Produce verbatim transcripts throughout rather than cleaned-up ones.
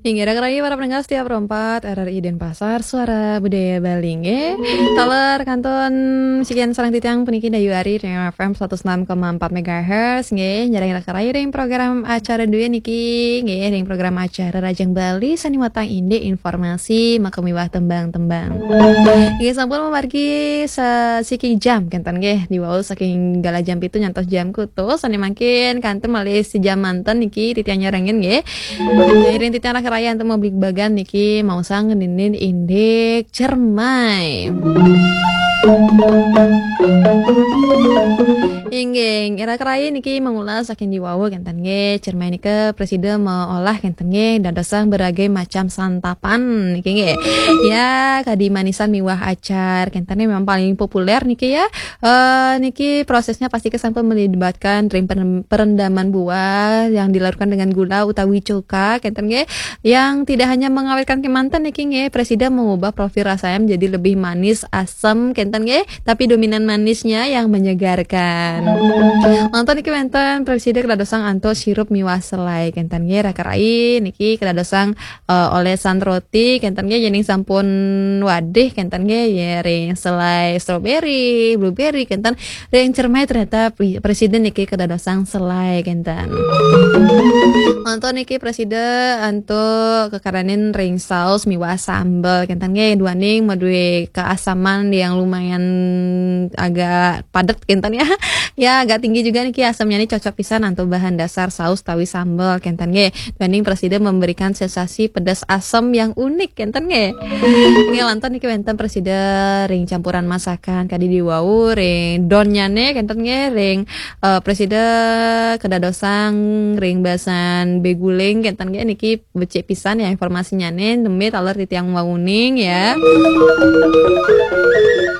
Inggih, raka rayi para pendengar setia Pro empat R R I Denpasar, Suara Budaya Bali, nggih. Taler kantun sikian sareng titiang puniki Dayu Ari ring F M seratus enam koma empat megahertz, nggih. Nyarengin raka rayi ring program acara dué niki, nggih, ring program acara Rajang Bali sane watang indik informasi makamiwah tembang-tembang. Nggih, sampun mamargi sasiking jam kenten nggih, diwau saking galah jam pitu nyantos jam kutus, sane mangkin kantun malih sejam manten niki titiang nyarengin nggih. Iring titiang raka rayi antuk mabligbagan niki maosang ngeninin indik cermai. Inggih, raka rayi niki mangulas saking diwau kenten nggih. Cermai nika prasida maolah kenten nggih, dadosang berbagai macam santapan niki nggih. Ya, kadi manisan miwah acar kenten nggih memang paling populer niki ya. Eh, niki prosesnya pasti sampun melibatkan ring pen-, perendaman buah yang dilarutkan dengan gula utawi cuka kenten nggih. Yang tidak hanya mengawetkan kemanten niki nggih, prasida mengubah profil rasanya menjadi lebih manis, asam kenten nggih, tapi dominan manisnya yang menyegarkan. Manten niki wenten prasida kadadosang antuk sirup miwah selai kenten nggih, raka rayi niki kadadosang, eh, olesan roti kenten nggih, yening sampun wadih kenten nggih, ya ring selai strawberry, blueberry kenten, ring cermai ternyata pri-, prasida niki kadadosang selai kenten. Manten niki prasida antuk kakaranin ring saus miwah sambel kenten nggih, duaning madue keasaman yang lumayan agak padet kenten ya. Ya, agak tinggi juga niki asamnya nih, cocok pisan antuk bahan dasar saus tawi sambel kenten nggih. Duaning prasida memberikan sensasi pedas asam yang unik kenten nggih. Nggih, lantas niki wenten prasida ring campuran masakan kadi diwau ring donnyane kenten nggih, ring, eh, prasida kadadosang ring basan beguling kenten nggih, niki becik pisan ya informasinya nih, nembe taler titiang wauning ya.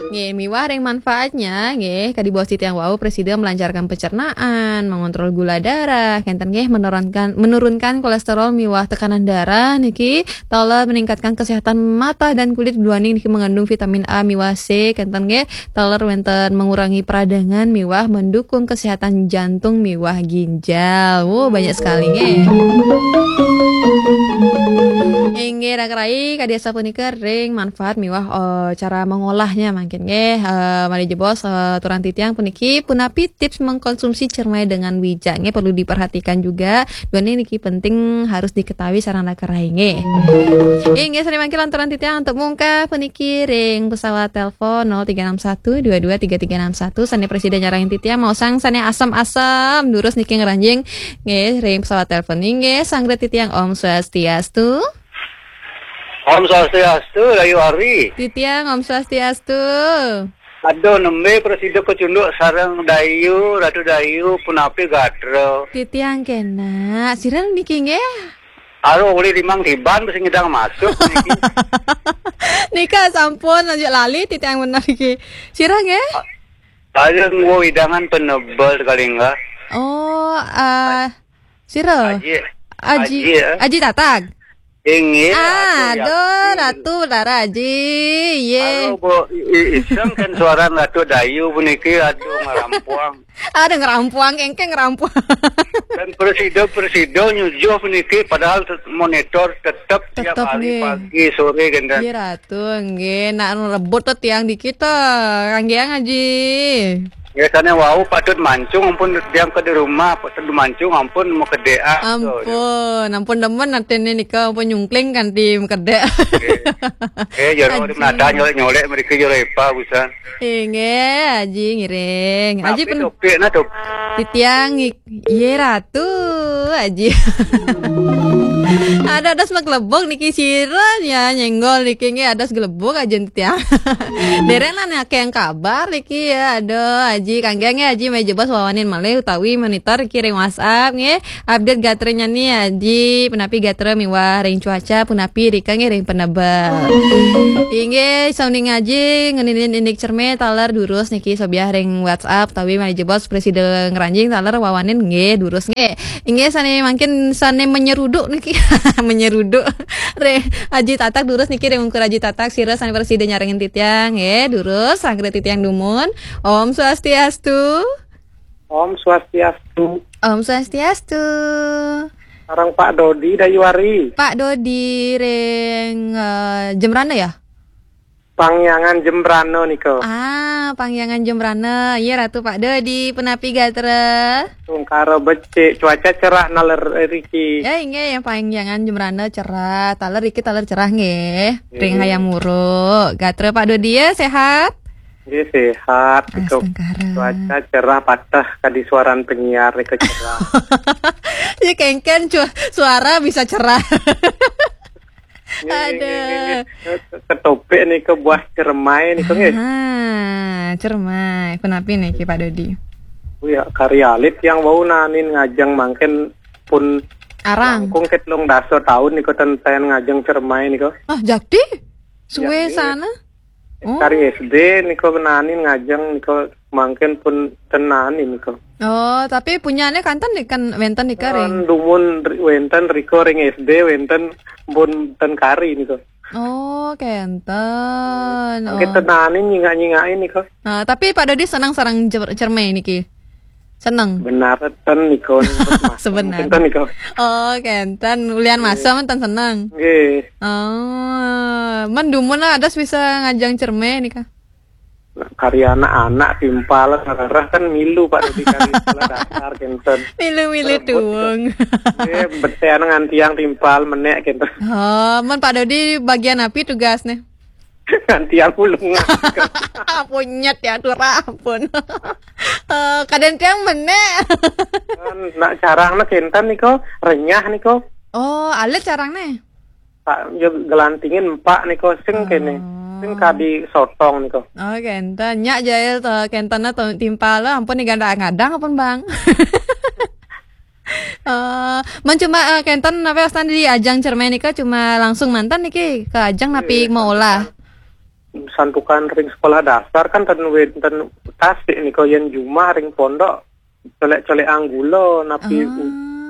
Nggih, miwah ring manfaatnya nggih, kadi baos titiang wau prasida melancarkan pencernaan, mengontrol gula darah kenten nggih, menurunkan, menurunkan kolesterol miwah tekanan darah niki, taler meningkatkan kesehatan mata dan kulit, duaning niki mengandung vitamin A miwah C kenten nggih, taler wenten mengurangi peradangan miwah mendukung kesehatan jantung miwah ginjal. Wow, banyak sekali nggih. Inggih, raka rayi, kadi asapunika ring manfaat miwah, eh, cara mengolahnya mangkin nggih. Eh, malih jebos, eh, aturang titiang puniki punapi tips mengkonsumsi cermai dengan bijak nggih, perlu diperhatikan juga. Duaning niki penting harus diketahui sareng raka rayi nggih. Inggih, sane mangkin lanturang titiang antuk mungkah puniki ring pesawat telepon nol tiga enam satu dua dua tiga tiga enam satu, sane prasida nyarengin titiang maosang sane asem-asem durus niki ngranjing nggih ring pesawat telepon nggih, sanggra titiang Om Swastiastu. Om Swastiastu, Dayu Ari. Titiang Om Swastiastu. Aduh, nembe prasida kecunduk sareng Dayu, Ratu Dayu, punapi gatra. Titiang kena. Sira niki nggih? Aduh, uli limang tiban mesti ngidang masuk niki. Nika sampun aja lali titiang bener iki. Sira nggih? Aja nggo hidangan penebel kali enggak. Oh, eh, sira? Aji. Aji. Aji, ya. Aji Tatag. Inggih, ah, aduh, aduh, yakin. Ratu Betara Aji. Ye. Halo, Bu. I-, i-, iseng kan suara Ratu Dayu puniki, aduh, ngerampuang. Aduh, ngerampuang, engke ngerampuang. Dan presido-presido nyujuh puniki, padahal tet-, monitor tetep tiap hari nggih. Pagi, sore, kenten. Nggih, Ratu, nggih. Nak rebut to tiang dikit to. Kanggeang Aji. Biasanya wau patut mancung, ampun tiang ke di rumah, patut mancung, ampun mau kedek, ah, to, ya. Ampun, ampun demen atene nika, ampun nyungkling kanti mekedek. Nggih. Eh, ya, nggih, Aji. Nada nyolek-nyolek mereka ya lepa, busan. Inggih, Aji ngiring. Aji tapi pen-, topik nah, top-, titiang ngi-, ye Ratu, Aji. Ada, ada semak lebok niki sira ya, nyenggol niki nggih, ada segelebok aja titiang. Dereng lah nih, akeh yang kabar niki ya. Aduh, Aji, kangge nggih, Aji, meja bos wawanin malih utawi monitor niki ring WhatsApp nggih. Update gatrenya nih, Aji, punapi gatra miwah ring cuaca, punapi rika nggih ring penebel. Inggih, sounding Aji ngeninin indik cerme taler durus niki sobiah ring WhatsApp, tawi malih jebos presida ngranjing taler wawanin nggih durus nggih. Inggih, sane mangkin sane menyeruduk niki. Menyeruduk. Ring Aji Tatak durus niki, ring ungkur Aji Tatak sira sane presida nyarengin titiang nggih durus, sanggra titiang dumun. Om Swastiastu. Om Swastiastu. Om Swastiastu. Sareng Pak Dodi Dayuari. Pak Dodi ring, eh, Jembrana ya? Pangyangan Jembrana nika. Ah, Pangyangan Jembrana. Iya, Ratu Pak Dodi, punapi gatra? Tungkara becik, cuaca cerah naler riki. Ya, inggih, yang Pangyangan Jembrana cerah, taler riki taler cerah nggih. Ring Hayam Wuruk. Gatra Pak Dodi ya, sehat? Nggih, sehat. Nika cuaca cerah, pateh kadi suaran penyiar nika cerah. Ya, kengken cu-, suara bisa cerah. Nggih, nggih, nggih, nggih. Ketopik nika buah cermai nika nggih. Ah, cermai. Punapi niki Pak Dodi? Oh ya, kari alit yang wau nanin ngajeng mangkin pun arang. Langkung ket telung dasa taun nika ten sayan ngajeng cermai nika. Ah, jakti? Suwe ya, nggih. Sana? Oh. Kari S D nika nanin ngajeng nika mangkin pun ten nanin nika. Oh, tapi punyane kanten nika wenten nika ring? Kan dumun ri-, wenten rika ring S D, wenten pun ten kari nika. Oh, kenten. Mangkin ten nanin nyingak-nyingaki nika. Nah, tapi Pak Dodi seneng sareng cer-, cermai niki? Seneng? Benar ten nika. Sebenarnya. Ten nika. Oh, kenten. Ulian masa men ten seneng. Nggih. Oh, men dumun lah ada bisa ngajeng cermai nika. Nah, kari anak-anak timpal ngerereh kan milu Pak Dodi kari sekolah dasar kenten. Milu-milu tuung. Eh, betean ngantiang timpal menek kenten. Oh, men Pak Dodi bagian api tugasnya? Ngantiang ulung. Punyet ya, atur ampun. Eh, kadang tiang menek. Kan nak carang na kenten niko, renyah niko. Oh, alit carang ne? Pak, ya gelantingin empak niko sing kene. Sing kadi sotong niko. Oh, kenten. Nyak jail to, kenten to timpal lah. Ampun nih ganda ngadang ampun, Bang. Eh, men cuma, eh, kenten napi wastan di ajang cermai nika cuma langsung mantan niki ke ajang napi mau olah? Santukan ring sekolah dasar kan ten wenten tasik niko yen jumah ring pondok colek-colek anggula napi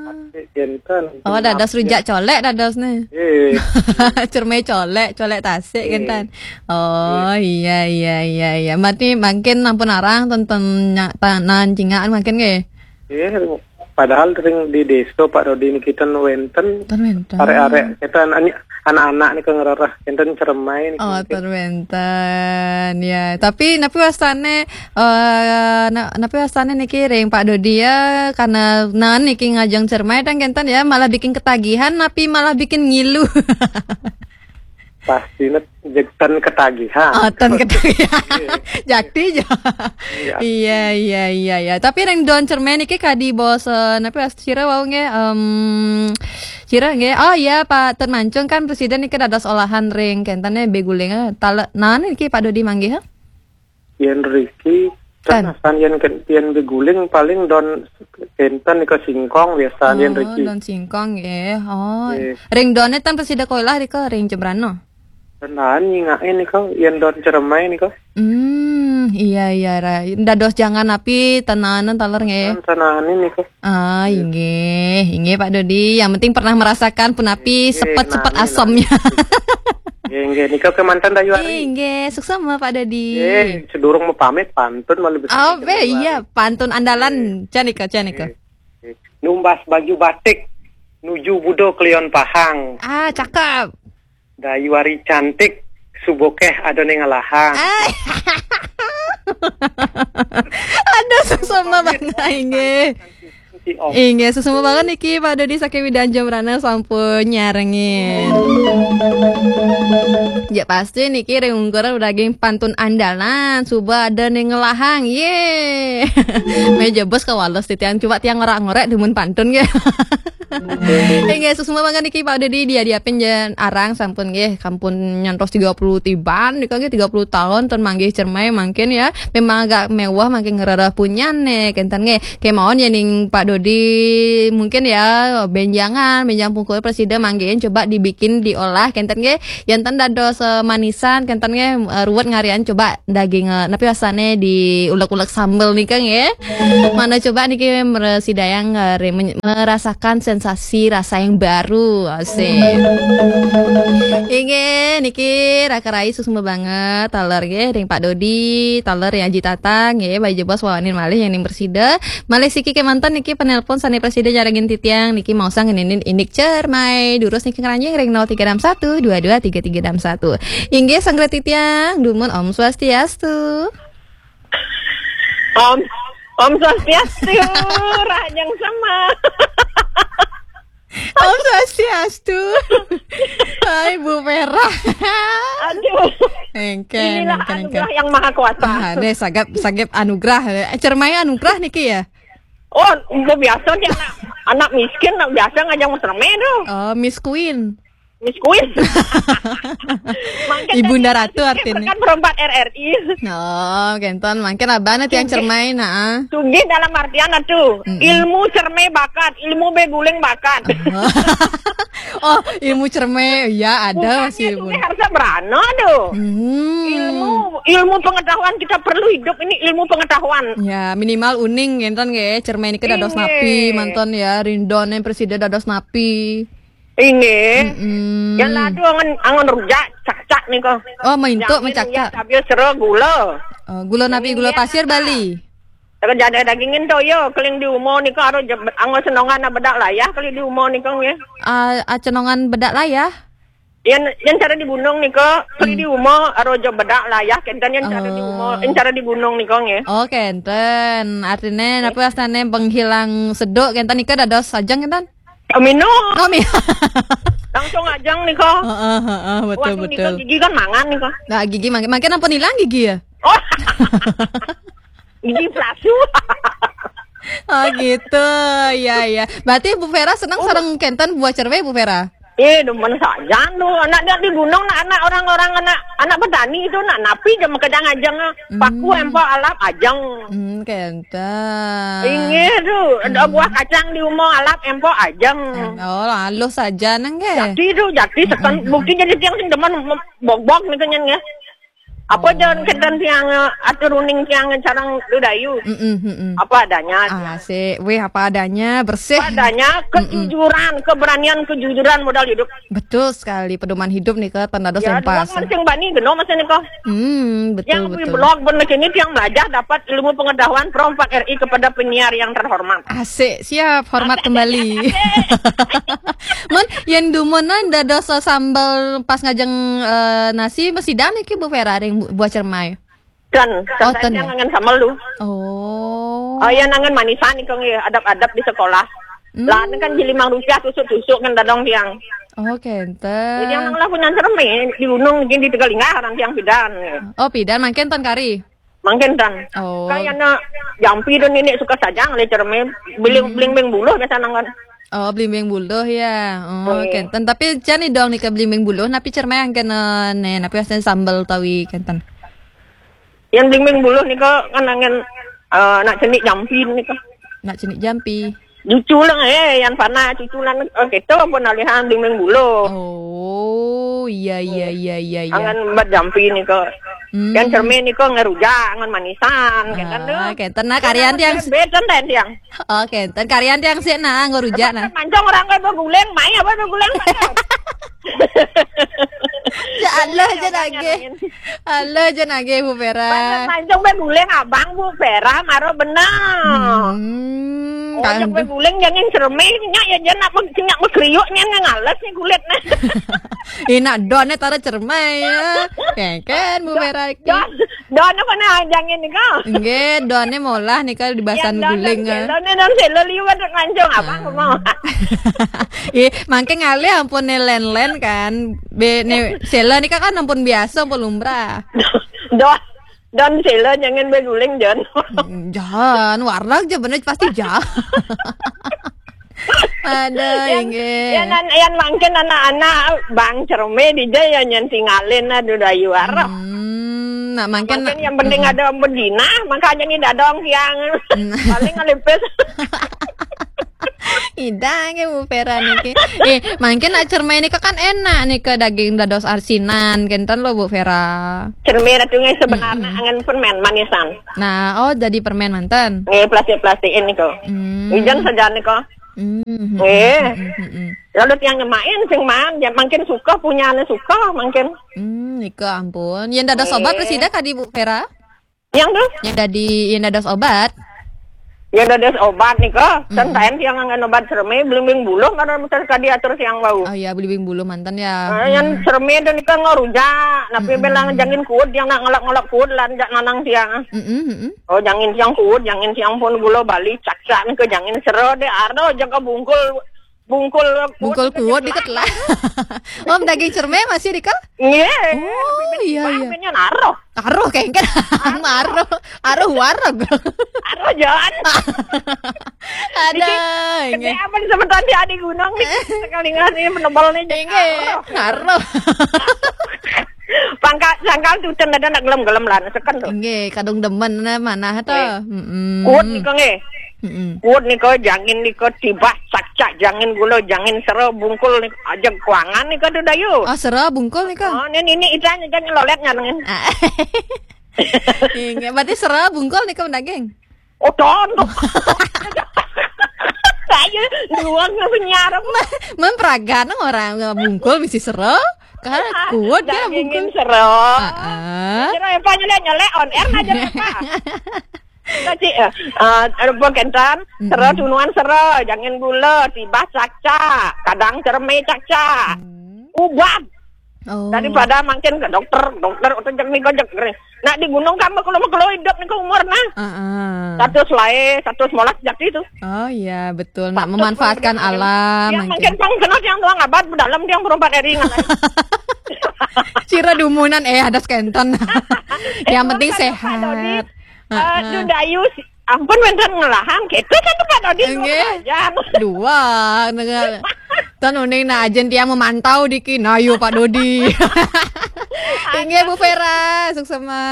tasik kenten. Oh, dados rujak colek dados ne. Eh. Cermai colek, colek tasik kenten. Oh, iya, iya, iya, iya. Berarti mangkin ampun arang ten, ten nya-, tanan cingakan mangkin nggih. Eh, padahal ring di desa Pak Dodi niki ten wenten. Ten wenten. Arek-arek kenten ani-, anak-anak nika ngerereh kenten cermai niki. Oh, mungkin. Ten wenten. Ya, tapi napi wastane, eh, na-, napi wastane niki ring Pak Dodi ya, karena nan niki ngajeng cermai dan kenten ya malah bikin ketagihan napi malah bikin ngilu. Pasti net jegten ketagihan. Oh, ten ketagihan. Jakti ja. Iya. Iya, iya, iya, iya. Tapi ring don cermai niki kadi bos, eh, napi sira wau nggih, em, sira nggih. Oh iya, Pak Tun Mancung kan presiden niki dados olahan ring kenten ya beguling, eh. Tale-, nan niki Pak Dodi manggih, eh? Yen riki, kan asan yen ken-, yen beguling paling don kenten nika singkong biasa yen riki. Oh, don singkong nggih. Oh. Nggih. Ring done ten presida koilah rika ring Jembrana. Tenan nyingake nika yen don cermai nika. Hmm, iya, iya, ra. Dados jangan api tenanan taler nggih. Ten-, tenanin nika. Ah, inggih, inggih Pak Dodi. Yang penting pernah merasakan punapi sepet-sepet asamnya. Nggih, nggih. Nika kemanten Dayu Ari. Inggih, suksma Pak Dodi. Nggih, sedurung mapamit pantun malah bisa. Oh, iya, pantun andalan. Nggih. Canika, canika. Nggih, nggih. Numbas baju batik, nuju Budo Kliwon Pahang. Ah, cakep. Dayu Ari cantik, suba keh ada ning ngelahang. Ai. Aduh, suksma banget, inggih. Inggih, suksma banget niki Pak Dodi saking Widang Jembrana sampun nyarengin. Ya pasti niki ring ungkur daging pantun andalan, suba ada ning ngelahang. Ye. Meja bos kawales titiang, coba tiang ngorek-ngorek dumun pantun nggih. Inggih, suksma banget niki Pak Dodi, dia diapin jen arang sampun nggih, sampun nyantos tiga puluh tiban nika nggih, tiga puluh tahun ten manggih cermai mangkin ya. Memang agak mewah mangkin ngerereh punyane kenten nggih. Kemawon yening Pak Dodi mungkin ya benjangan, benjang pungkur presida manggihin coba dibikin diolah kenten nggih. Yen ten dados, eh, manisan kenten nggih, eh, ruwet ngarian coba daging, eh, napi wasane diulek-ulek sambel nika nggih. Mana coba niki meresidayang, eh, re-, men-, merasakan sensasi rasa yang baru. Asik. Inggih, niki raka rai suksma banget taler nggih ring Pak Dodi, taler ring Aji Tatang nggih, Bayu Jebos wawanin malih yang ning presida. Malih siki kemanten niki Nelpon sané prasida nyarengin titiang niki maosang ngeninin indik cermai. Durus niki ngranjing ring nol tiga enam satu dua dua tiga tiga enam satu. Inggih, sanggra titiang, dumun Om Swastiastu. Om, Om Swastiastu, Rahajeng Sema. Om Swastiastu. Hai, Bu Vera. Aduh. Engken, inilah engken, anugerah engken. Yang Maha Kuasa. Ah, deh, sagap, sagap anugerah. Eh, cermai anugerah niki ya? Oh, itu biasa nih anak, anak miskin, anak biasa ngajeng cermai tuh. Oh, Miss Queen. Miss Queen. Mangkin Ibunda dari Ratu artinya. Kan perempat R R I. Oh, kenton. Mangkin abana tiang cermai, nah. Sugih dalam artian atuh. Mm-mm. Ilmu cermai bakat, ilmu beguling bakat. Oh, ilmu cermai, ya ada. Bukannya masih sugih, harus berana tuh. Hmm. Ilmu, ilmu pengetahuan kita perlu hidup ini ilmu pengetahuan. Ya, minimal uning kenton nggih, cermai niki dados napi, manten ya, rindoné presida dados napi. Inggih. Mm-mm. Yang ladu angon, angon rujak, cakcak nika. Oh, maintuk. Jamin mencakcak. Ya, tapi sero gula. Oh, gula napi, gula pasir Bali. Terus ada dagingin toyo, keling di umo nika aro je-, angon senongan bedak layah keling di umo nika nggih. Ah, ah, cenongan bedak layah? Yang, yang cara di gunung nika, keling di umo aro je bedak layah, kenten yang cara di umo, yang cara di gunung nika nggih. Oh, kenten. Artinya napa astané penghilang seduk kenten nika dados ajeng kenten? Minum. Oh, mi- Langsung ajeng nika. Heeh, heeh, betul, betul. Gigi kan mangan nika. Nah, gigi mangkin, mangkin ampun hilang gigi ya? Oh. Gigi palsu. Oh, gitu. Ya, ya. Berarti Bu Vera seneng sareng kenten buah cermai, Bu Vera? Eh, demen saja tuh. Anak dia di gunung, nak anak orang-orang, anak, anak petani itu, nak napi je makejang ajeng. Paku empok alap ajeng. Hmm, kenten. Inggih tuh, ada buah kacang di umo alap empok ajeng. Oh, halus saja nang nggih. Jati tuh, jati seken. Bukti jadi tiang sing demen mem-, bok-bok nih kenyang ya. Apa jangan kenten tiang, eh, atur uning tiang sareng Ludayu. Mm-mm, mm-mm. Apa adanya. Ah, sih. Wih, apa adanya, bersih. Apa adanya, kejujuran, keberanian, kejujuran modal hidup. Betul sekali, pedoman hidup nih, Kak, tanda dos. Ya, empas. Dua sing bani geno masa nih, Kak. Hmm, betul, yang betul. Blog bener ini yang belajar dapat ilmu pengetahuan Pro empat R I kepada penyiar yang terhormat. Asik, siap, hormat kembali. Asik, asik, asik. Mun, yang dumunan dados sambel pas ngajeng, eh, nasi, mesti dah niki Bu Vera ring bu-, buah cermai. Kan, oh, kan ten, saya ya? Ngangen sambel lu. Oh. Oh, ya, ngangen manisan nih, Kang, ya, adab-adab di sekolah. Hmm. Lah, ini kan jadi limang rupiah tusuk-tusuk kan dadong tiang. Oh, kenten. Jadi yang lah punya cermai di gunung, di Tegalinga, orang tiang pidan. Oh, pidan, mangkin ten kari? Mangkin ten. Oh. Kayak anak jampi dan nenek suka saja ngeliat cermai, beling, hmm, blimbing buluh biasa nangon. Oh, blimbing buluh ya. Oh, iya. Kenten. Tapi cani dong nih ke blimbing buluh, napi cermai yang kena nih, napi asen sambel tawi kenten. Yang blimbing buluh nih kok kan angin, eh, nak cenik jampi nih kok. Nak cenik jampi. Cucu lang, eh, yang panah cucu lang, eh, kita pun alihan blimbing buluh. Oh, iya, iya, iya, iya, iya. Angan bat jampi nih kok. Hmm. Yang cermin nih kok ngerujak, angan manisan, kenten tuh. Ah, kenten. Nah, karian tiang beten dan tiang. Oh, kenten. Karian tiang sih nah, ngerujak nah. Mancong orang kayak beguling, main apa beguling? Ya Allah, jan agih. Allah, jan agih, Bu Vera. Mancong beguling abang, Bu Vera, maro benar. Hmm, oh, kalau yang beguling jangan cermin, nyak ya, jangan nak, nyak mekriuk, nyak ngales nih kulitnya. Enak don nih, tara cermai ya. Keken, Bu Vera iki. Don, don apa nih, jangan nih kau. Nggih, don nih molah nih kalau di bahasan guling, ya. Don nih, don selo liwat mancong, abang mau. Ih, mangke ngalih ampun nih len-len kan. Be, nih, selo nih kan ampun biasa, ampun lumrah. Don, don selo jangan beguling, Jon. Mm, jangan, warna aja bener pasti jangan. Ada yang, inggih. Yang, yang mangkin anak-anak bang cerme di dia yang nyen tinggalin, aduh, dayu arep. Hmm, nak mangkin mangkin yang penting ada bedina, makanya ini dadong tiang. Hmm. Paling ngelipis. Idang ya, Bu Vera niki. Eh, mangkin nak cerme ini kan enak nih ke daging dados asinan, kenten lo, Bu Vera. Cerme ratu ngai sebenarnya angan permen manisan. Nah, oh, jadi permen manten. Eh, plastik-plastik ini kok. Hmm. Ijan saja nih kok. Hmm. Eh. Hmm, hmm, hmm. Lalu tiang nyemain sing man, ya mangkin suka punya ane suka mangkin. Hmm, nika ampun. Yang dados obat presida kadi Bu Vera? Yang tuh? Yang dadi, yang dados obat. Ya dados obat nika, mm-mm, santayan tiang nganggen obat serme, blimbing buluh karena muter kadi atur tiang wau. Oh iya, blimbing buluh manten ya. Eh, yang serme itu nika nggak rujak, tapi mm-mm, bilang jangin kuat, yang nak ngelak-ngelak kuat, lan jak nanang tiang. Mm-mm, mm-mm. Oh, jangin tiang kuat, jangin tiang pun gula Bali, cakcak nika jangin sero deh, ardo jaga bungkul, bungkul kuat. Bungkul kuat dikit lah. Om, daging cerme masih dikal? Iya. Oh, iya, iya. Naro. Aruh, kengken. Aruh. Aruh wareg. Aruh jalan. Ada. Gede apa nih semeton di adik gunung nih? Sekali nggak nih menebal nih. Inggih, aruh. Pangkal sangkal tuten ada nak gelem-gelem lah, seken tuh. Inggih, kadung demen nah manah to. Kuat nih kong eh. Mm-mm. Kuat nika, jangin nika, tibah, cakcak, jangin gula, jangin sero, bungkul nika, aja kuangan nika tuh dayu. Oh, sero bungkul nika. Oh, ini ini itu aja jangan lolet nyanengin. Ah. Inggih, berarti sero bungkul nika daging. Oh, tontok. Ayo, duang nggak nyarap. Memperagan orang bungkul mesti sero. Kan kuat ya bungkul. Sero. Heeh. Kira apa nyelek nyelek on air aja apa? Tadi eh, eh, rebon kentan, sero tunuan sero, jangin gula, tibah cakcak, kadang cerme cakcak. Ubat. Oh. Daripada makin ke dokter, dokter udah jek nih gojek. Nak di gunung kamu kalau mau kalau hidup nih umur nah. Heeh. Satu selai, satu semolak jati itu. Oh iya, betul. Nak memanfaatkan alam. Yang makin pang kenal yang tuang abad dalam dia berempat hari ngalai. Cira dumunan eh ada skenton. Yang penting sehat. Aduh dayu sih. Ampun wenten ngelahan kita kan Pak Dodi. Dua. Tan uning nah ajen tiang memantau diki. Nah, yo Pak Dodi. Inggih Bu Vera, suksema.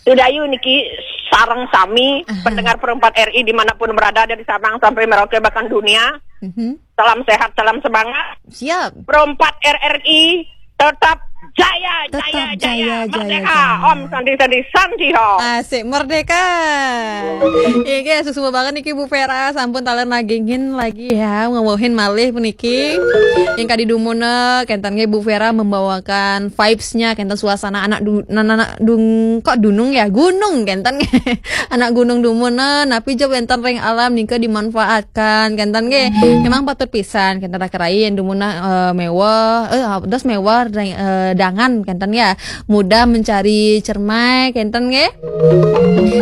Sudayu niki sareng sami pendengar Perempat R I dimanapun berada dari Sabang sampai Merauke bahkan dunia. Salam sehat, salam semangat. Siap. Perempat R R I tetap jaya, tetap jaya, jaya, jaya, merdeka. Jaya. Om Sandi Sandi Sandi Om. Asik merdeka. Iya, suksema banget niki Bu Vera, sampun taler nagingin lagi ya, ngomongin malih puniki. Yang kadi dumuna kenten nggih Bu Vera membawakan vibes-nya kenten suasana anak du, anak dung kok dunung ya, gunung kenten. Anak gunung dumuna, napi jeb wenten ring alam nika dimanfaatkan kenten nggih. Memang patut pisan kenten rakerai yang dumuna eh, mewah, eh, dos mewah eh, dangan kenten ya. Mudah mencari cermai kenten nggih.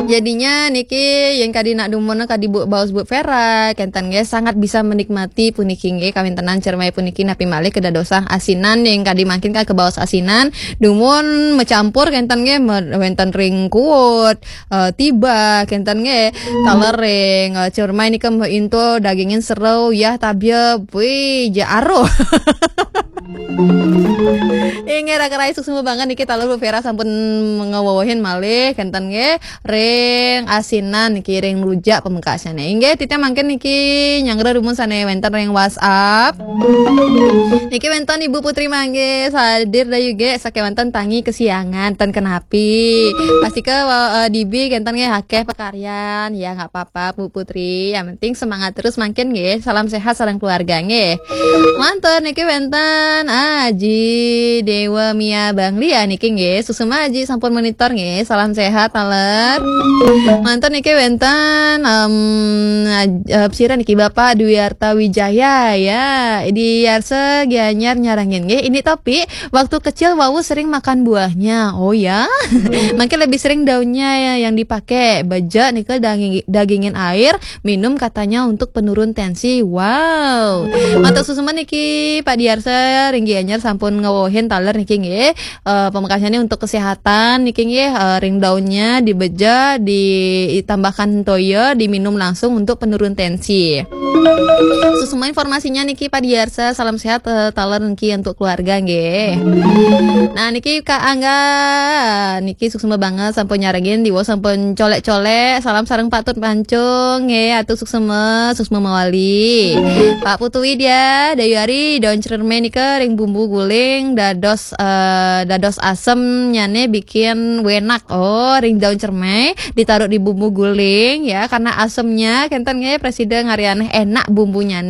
Jadinya niki yang kadi nak dumuna kadi Bu Baus Bu Vera kenten nggih sangat bisa menikmati puniki nggih kawintenan cermai puniki napi malih kedadosang asinan yang kadi mangkin ka kebaos asinan dumun mecampur kenten nggih wenten ring kuut eh, tiba kenten nggih taler ring eh, cermai nika mbok into dagingin sero ya tabia wih ja aruh. Inggih rakerai suksema banget niki taler Bu Vera sampun ngewewehin malih kenten nggih ring asinan niki ring rujak pamekasane. Inggih titah mangkin niki nyanggra dumun sane wenten ring WhatsApp. Niki wenten Ibu Putri Manggis hadir dayu ge sakewanten tangi kesiangan ten kenapi. Pastika eh, dibi kenten nggih akeh pakaryan ya nggak apa-apa Bu Putri. Yang penting semangat terus mangkin nggih. Salam sehat sareng keluarga nggih. Manten niki wenten Aji Dewa Mia Banglia niki nggih. Suksema Aji sampun monitor nggih. Salam sehat taler. Manten niki wenten em Aj- eh, sira niki Bapak Dwi Arta Wijaya ya. Di Yarsa Gianyar nyarangin nggih. Ini tapi waktu kecil wau sering makan buahnya. Oh ya. Mungkin lebih sering daunnya ya yang dipakai. Beja nika daging, dagingin air, minum katanya untuk penurun tensi. Wow. Mata susuman niki Pak Diarsa ring Gianyar sampun ngewohin taler niki nggih. Eh, pamekasannya untuk kesehatan niki nggih eh, ring daunnya dibeja ditambahkan toya diminum langsung untuk penurun tensi. Susuma informasinya niki Pak Diarsa, salam sehat eh, taler niki untuk keluarga nggih. Nah niki Kak Angga niki suksma banget sampun nyarengin diwo sampun colek-colek salam sareng Pak Tut Pancung nggih atuh suksma suksma mawali. Pak Putu Widya Dayu Ari daun cerme nika ring bumbu guling dados eh, dados asem nyane bikin wenak oh ring daun cerme ditaruh di bumbu guling ya karena asemnya kenten nggih presiden ngarianeh enak bumbunya